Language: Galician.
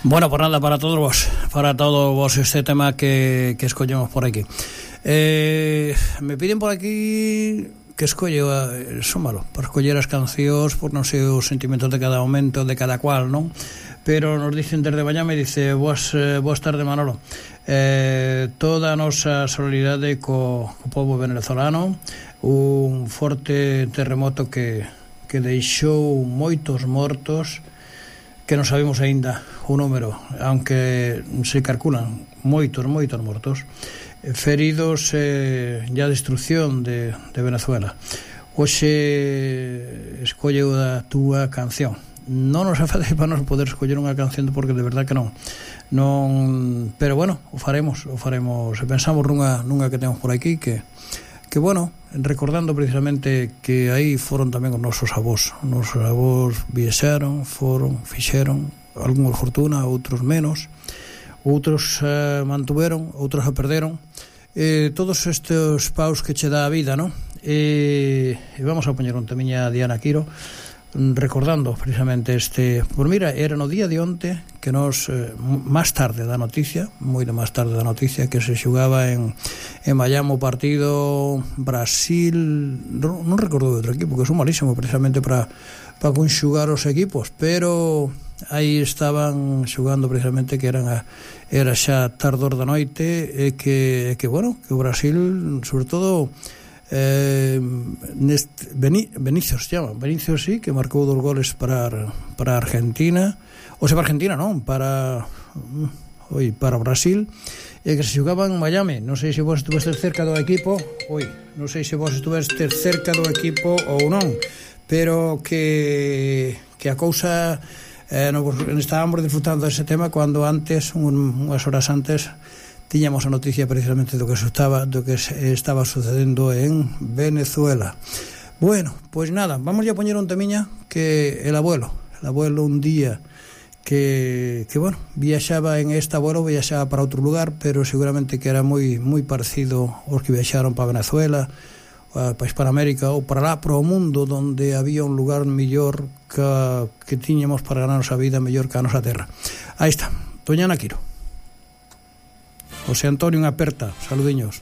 Bueno, pues nada, para todos vos este tema que escollemos por aquí. Me piden por aquí que escolle, son malo, para escoller as cancións por non sei os sentimentos de cada momento, de cada cual, non? Pero nos dicen desde Bañame, dice, boas tardes, Manolo. Toda a nosa solidaridade co povo venezolano, un forte terremoto que deixou moitos mortos, que non sabemos aínda o número, aunque se calculan moitos mortos, feridos e a destrucción de Venezuela. Hoxe escolleu a túa canción. Non nos afade para nos poder escoller unha canción porque de verdad que non, pero bueno, o faremos. Pensamos nunha que temos por aquí que bueno, recordando precisamente que aí foron tamén os nosos avós viaxaron, fixeron algúns fortuna, outros menos, outros mantuveron, outros a perderon, todos estes paus que che dá a vida, non? E vamos a poñer un temiña Diana Quiro recordando precisamente pues mira, era no día de onte que nos máis tarde da noticia, que se xugaba en Miami o partido Brasil, non recordo outro equipo, que son malísimo precisamente para conxugar os equipos, pero aí estaban xugando precisamente que era xa tardor da noite e que bueno, que o Brasil sobre todo Vinicius sí, que marcou 2 goles para Argentina, ou sea, para Argentina non, para Brasil, e que se xogaba en Miami. Non sei se vos estuvestes cerca do equipo ou non, pero que a cousa estábamos disfrutando dese tema cando antes, unhas horas antes, tiñamos a noticia precisamente do que estaba sucedendo en Venezuela. Bueno, pois nada, vamos a poñer un temiña que el abuelo un día que bueno, viaxaba para outro lugar, pero seguramente que era moi parecido aos que viaxaron para Venezuela, para Hispanoamérica ou para lá, para o mundo, donde había un lugar mellor que tiñamos para ganar a nosa vida mellor que a nosa terra. Aí está, Doña Ana Quiro. José Antonio, unha aperta, saludiños.